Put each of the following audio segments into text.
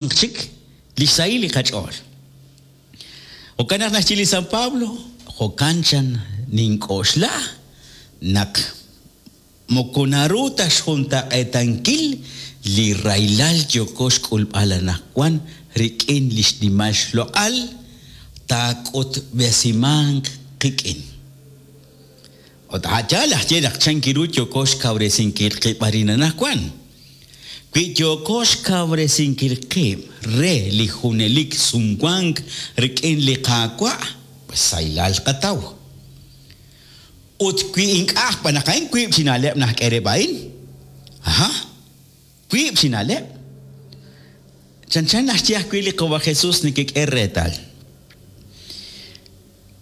Chik li xsahil li qach'ool. Jo'kan naq naxye li San Pablo, Jo'kan chan nink'oxla naq moko naru ta xjuntaq'eetankil li rahilal yooko xk'ulb'al anaqwan rik'in li xnimal xloq'al taak'utb'esimanq qik'in. Ut a' yaal aj ye naq chankiru yooko xkawresinkil qib' arin anaqwan. Wi yooko xkawresinkil qib' re li junelik sumwank rik'in li Qaawa', pues sahilal tqataw. Ut wi ink'a' xb'aan naq a'in wiib' chi na'leb' najk'e rib' a'in. Aha. Wiib' chi na'leb'. Chanchan naxye ajwi' li Qawa' Jesus nekek'e reetal.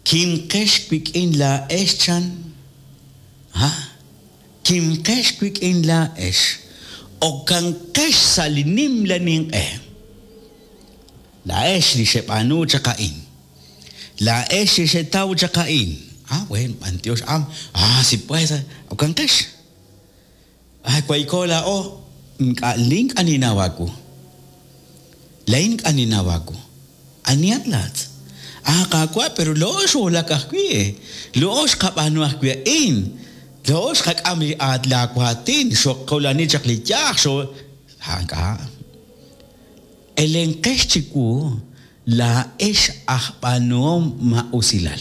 Kimqex wik'in laa'ex chan, ha? Kimqex wik'in laa'ex, okanqex sa' li nimla ninq'e. Laa'ex li xeb'aanu chaq a'in. Laa'ex li xetaw chaq a'in. Ah, bueno, b'antiox, ah, ah, si pues, okanqex. Ay, wayko laa'o, ink'a' lin ink'a' ninnaw aawu. Laa'in ink'a' ninnaw aawu. Anihat laa'at? Ah, Qaawa', pero laa'o xwulak ajwi'. Laa'o xqab'aanu ajwi' a'in. Laa'o xqak'am li laa waatin, xoqulani chaq li yaj, xo... Ah, ink'a'. Elenqex chiwu, laa'ex aj b'aanuhom maa'usilal.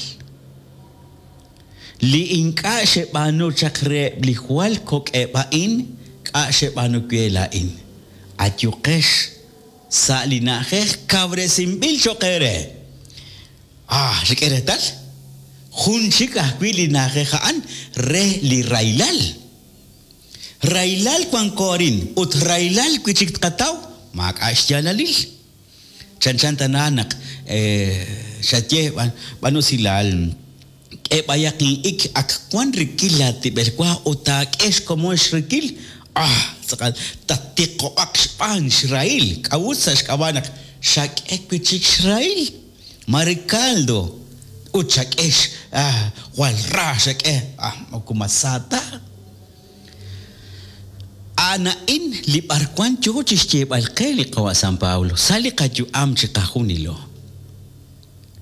Li ink'a' xeb'aanu chaq reheb' li jwal kok'eb' a'in, k'a' xeb'aanu we laa'in. Ayuqex sa' li na'ajej kawresinb'il cho'q eere. Ah, xek'e reetal? Jun chik ajwi' li na'ajej a'an re li rahilal. Rahilal wanko arin ut rahilal wi' chik tqataw, maak'a' xyaalalil. Chanchan tana naq xaye b'an usilal, k'e b'ayaq in'ik ak wan rikil laatib'el wa ut taak'e xkomon xrikil, ah, tz'aqal tattiqob'aq xb'aan xrahil, k'a'ut sa' xk'ab'a' naq xak'e wi' chik xrahil? Mare caldo ut xak'e ah, jwal ra xak'e, ah, moko mas sa ta. A'an a'in li b'arwan yoo chixyeeb'al qe li Qawa' San Pablo sa' li qayu'am chiqajunilo.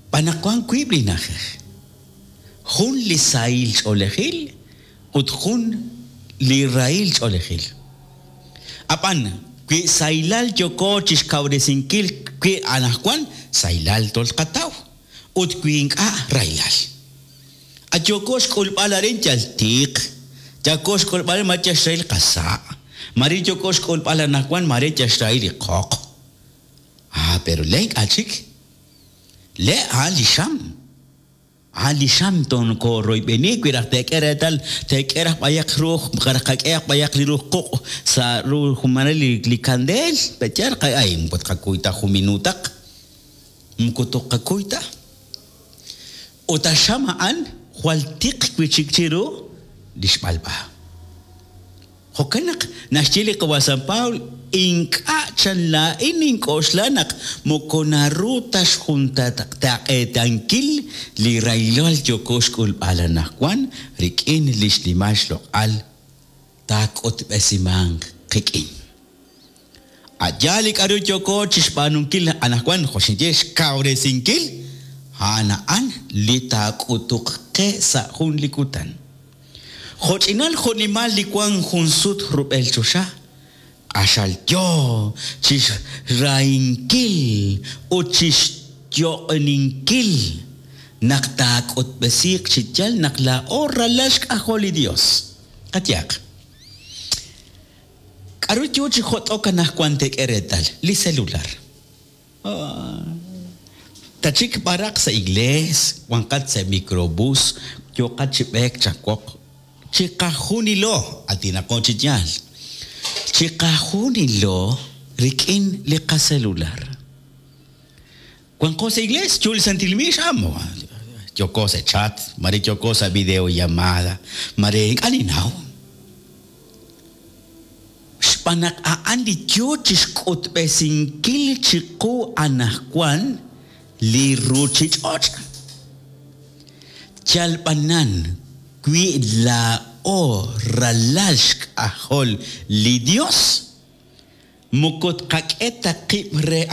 B'an naq wan wiib' li na'ajej, jun li sahil ch'oolejil ut jun li rahil ch'oolejil. A'b'an, wi sahilal yooko chixkawresinkil wi anajwan, sahilal tolqataw, ut wi ink'a', rahilal. A yooko xk'ulb'al arin yal tiq, yooko xk'ulb'al arin mare yal xrahil qasa', mare yooko xk'ulb'al anaqwan mare yal xrahil li qoq. Ah, pero le' ink'a' chik. Le' a'an li xam. A'an li xam tookoroyb'eni wi raj teek'e reetal, teek'e raj b'ayaq ruuj, raj qak'ehaq b'ayaq li ruuj quq' sa' ru mare li kandeel, pe'yaal ay moko tqakuy ta jun minutaq, moko toqakuy ta. Ut a xam a'an jwal tiq wi' chik chiru li xb'alb'a. Jo'kan naq naxye li Qawa' San Pablo, Ink'a' chan laa'in nink'oxla naq moko naru ta xjuntaq'eetankil li rahilal yooko xk'ulb'al anaqwan rik'in li xnimal xloq'al taak'utb'esimanq qik'in. A' yaal li k'a'ru yooko chixb'aanunkil anajwan, jo' xinye, xkawresinkil, a'an a'an li taak'utuq qe sa' jun li kutan. Jo'ch'inal jo'nimal li wank jun sut rub'el choxa, q'axal yoo chixrahinkil ut chixyo'oninkil naq taak'utb'esiiq chi yaal naq laa'o ralal xk'ajol li Dios. Qayehaq. K'aru yo chi jot'ok anaqwan teek'e reetal? Li selular. Tatxik b'araq sa' iglees, wanqat sa' microbús, yooqat chi b'eek chawoq. Chiqajunilo, aatinaqo chi yaal, chiqajunilo rik'in li qaselular. Wanqo sa' iglees, yo li santil miix, ah, yooko sa' chat, mare yooko sa' videollamada, mare ink'a' ninnaw. Xb'aan naq a'an li yoo chixk'utb'esinkil chiqu anajwan li ruchich'och'. Yal b'anan wi laa'o ralal xk'ajol li Dios. Moko tqak'e ta qib' re.